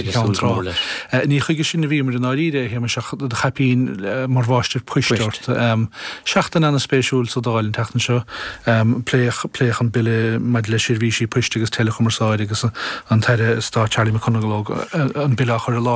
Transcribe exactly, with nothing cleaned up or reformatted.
Ceann trá. Ní chuige sin a bhíomar i ndáiríre, a Shéamais, ach do chaipín mar mháistir poist ort. Seachtain an-spéisiúil sa Dáil an tseachtain seo. Pléadh pléadh an bille maidir le seirbhísí poist agus teileachumarsáide agus an tAire Stáit Charlie McConalogue an bille á chur i láthair.